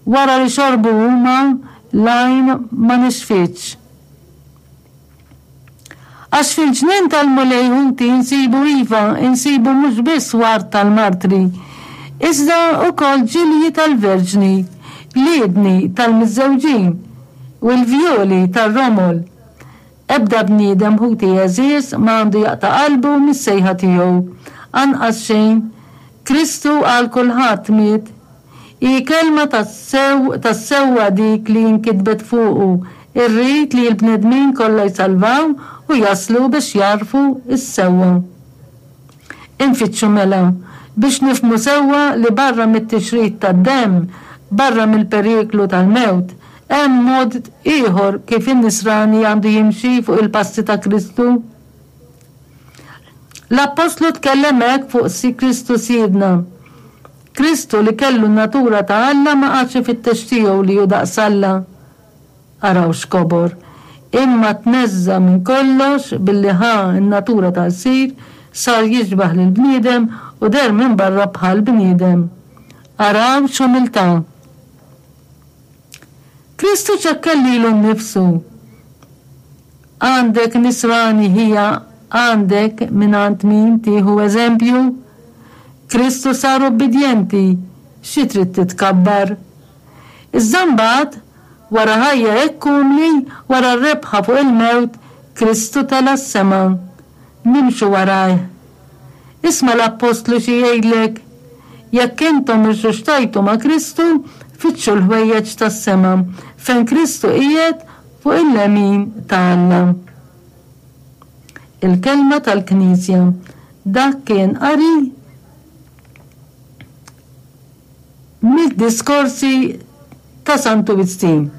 Wara li xorbu huma, l-għajn ma nixfitx. Għax fil-ġnien tal-Mulej ħuti insibu iva, insibu mhux biss ward tal-martri, iżda wkoll ġilji tal-verġni, liedni tal-miżżewġin, u l-vjoli tar-romol. Ebda bniedem ħuti għeżież ma għandu jaqta' qalbu mis-sejħa tiegħu. Anqas xejn. Kristu għal kulħadd miet. Hi kelma tas-sewwa dik li nkitbet fuqu, Irrid li l-bnedmin kollha jsalvaw u jaslu biex jagħrfu s-sewwa. Infittxu mela, biex nifhmu sewwa li barra mit-tixrid tad-demm, barra mill-periklu tal-mewt, hemm mod ieħor kif in-Nisrani għandu jimxi fuq il-passi ta' Kristu. L-Appostlu tkellem hekk fuq Kristu Sidna, Kristu li kellu n-natura ta' Alla ma qagħadx ifittex tiegħu li hu daqs Alla. Araw x'kobor! Imma tneżża' minn kollox billi ħa n-natura ta' lsir, sar jixbah lill-bniedem u deher minn barra bħal bniedem. Araw x'umiltà! Kristu ċekken lilu nnifsu. Għandek Nisrani ħija għandek mingħand min tieħu eżempju? Kristu sar ubbidjenti, xi trid titkabbar? Iżda mbagħad, wara ħajja hekk umli, wara r-rebħa fuq il-mewt, Kristu tela' s-sema. Nimxu warajh. Isma' l-appostlu xi jgħidlek, Jekk intom irxuxtajtu ma' Kristu, fittxu l-ħwejjeġ tas-sema, fejn Kristu qiegħed fuq il-lemin ta' Alla. Il-Kelma tal-Knisja. Dak kien qari mid-diskorsi ta' Santu Wistin.